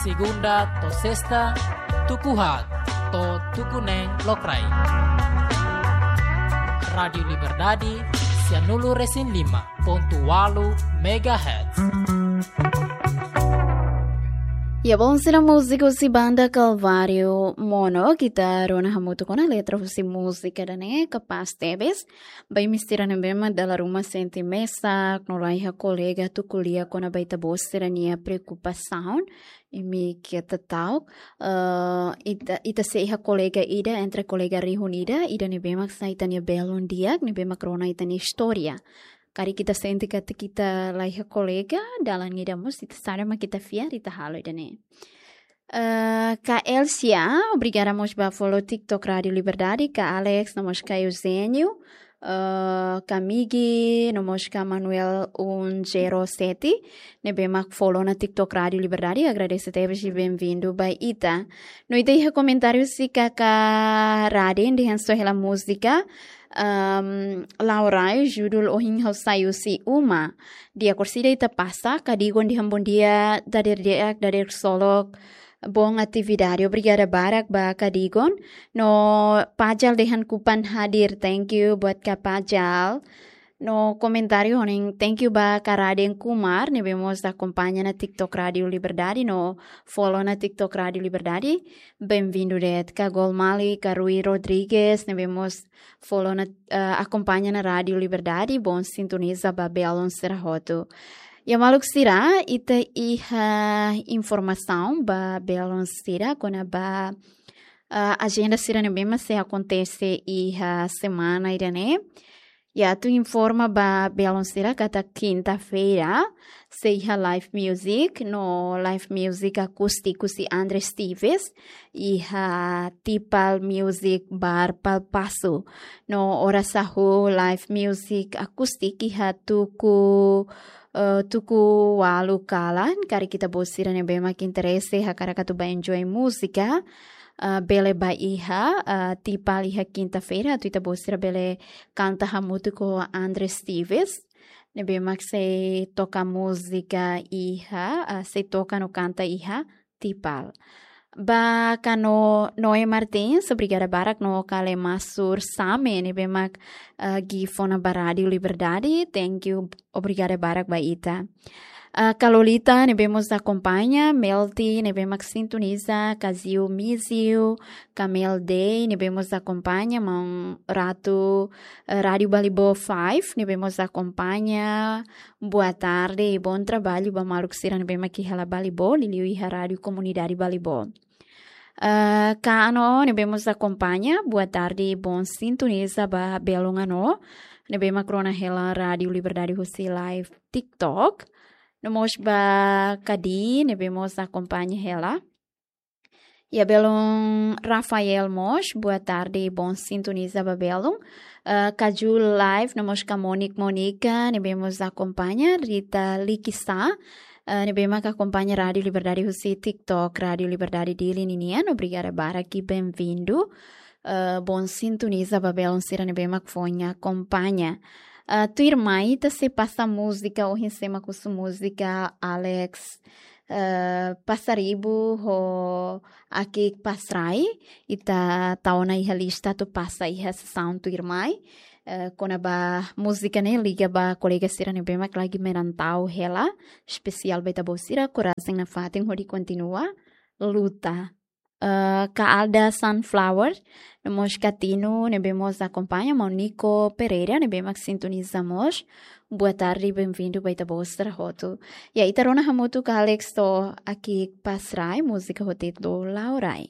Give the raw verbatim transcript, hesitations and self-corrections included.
Segunda to'o sesta, tuku haat to'o tuku neen lokraik. Rádiu Liberdade, sianulu resin lima pontu ualu megahertz. Ya, bom, sira múziku husi banda Kalváriu Mono, ita rona hamutuk ona letra husi múzika ida-ne'e, kapás tebes. Ba imi sira ne'ebé mak dala ruma sente mesak, no la iha kolega atu ko'alia kona-ba ita-boot sira-nia preokupasaun, imi keta ta'uk, eh, ita, ita sei iha kolega ida, entre kolega rihun ida, ida ne'ebé mak sai ita-nia belun di'ak, ne'ebé mak rona ita-nia istória. Karik ita sente katak ita la iha kolega, dalan ida mós ita sara mak ita fiar, ita halo ida-ne'e. Eh, Ka Elsia, obrigada mós ba follow TikTok Rádiu Liberdade, Ka Alex, no mós Ka Eugênio, eh, Ka Migi, no mós Ka Manuel um zero sete, ne'ebé mak follow ona TikTok Rádiu Liberdade, agradese tebes i bem-vindo ba ita. No ita iha komentáriu husi Ka Raden, dehan só hela múzika, ehm, Laurai, judul Ohin Ha'u Sai Husi Uma. Di'ak orsida ita pasa, Ka Digon dehan bom dia, dadeer di'ak, dadeer ksolok, bom atividade. Obrigada barak ba Ka Digon. No Pajal dehan kupan hadir, thank you buat Ka Pajal. No komentáriu hanesan thank you ba Ka Raden Kumar, ne'ebé mós akompaña ona TikTok Rádiu Liberdade, no follow ona TikTok Rádiu Liberdade. Bem-vindo de'it. Ka Gol Mali, Ka Rui Rodrigues, ne'ebé mós follow ona, eh, akompaña ona Rádiu Liberdade, bom sintoniza ba belun sira hotu. Ya maluk sira, ita iha informasaun ba belun sira kona-ba, eh, ajenda sira ne'ebé mak sei akontese iha semana ida-ne'e. Ya, atu informa ba belun sira katak kinta-feira sei iha live music, no live music akústiku husi André Steves, iha Tipal Music Bar Palpasu. No oras hahú live music akústiku iha tuku, eh, tuku ualu kalan, karik ita-boot sira ne'ebé mak interese hakarak atu ba enjoy múzika, eh, bele ba iha, eh, Tipal iha kinta-feira, atu ita-boot sira bele kanta hamutuk ho André Steves, ne'ebé mak sei toka múzika iha, eh, sei toka no kanta iha Tipal. Ba Ka No-, Noé Martins, obrigada barak, no Ka Lemasur Same, ne'ebé mak, eh, gift ona ba Rádiu Liberdade, thank you, obrigada barak ba ita. Eh, Ka Lolita, ne'ebé mós akompaña, Melty, ne'ebé mak sintoniza, Ka Ziu Miziu, Ka Mel Day, ne'ebé mós akompaña, maun Ratu, eh, Rádiu Balibo five, ne'ebé mós akompaña, boa tarde i bom trabalho ba maluk sira ne'ebé mak iha hela Balibo, liuliu iha Rádiu Komunidade Balibo. Eh, Ka Ano, ne'ebé mós akompaña, boa tarde i bom sintoniza ba belun Ano, ne'ebé mak rona hela Rádiu Liberdade husi live TikTok. No mós ba Ka Di, ne'ebé mós akompaña hela. Ya belun Rafael mós, boa tarde i bom sintoniza ba belun. Eh, Ka Ju Live, no mós Ka Monik Monika, ne'ebé mós akompaña, Rita Likisa, eh, ne'ebé mak akompaña Rádiu Liberdade husi TikTok, Rádiu Liberdade Dili ninian, obrigada barak i bem-vindo. Eh, bom sintoniza ba belun sira ne'ebé mak foin akompaña. Eh, tuirmai ita sei pasa múzika, ohin sé mak husu múzika, Alex, eh, Pasaribu ho Akik Pasrai, ita tau ona iha lista atu pasa iha sesaun tuirmai. Eh, kona-ba múzika ne'e liga ba kolega sira ne'ebé mak lagi merantau hela, espesiál ba ita-boot sira, korajen nafatin hodi kontinua luta. Eh, Ka Alda Sunflower, no mós Ka Tino, ne'ebé mós akompaña, maun Nico Pereira, ne'ebé mak sintoniza mós. Boa tarde, bem-vindo ba ita-boot sira hotu. Ya, ita rona hamutuk Alex ho Akik Pasrai, múzika ho títulu Laurai.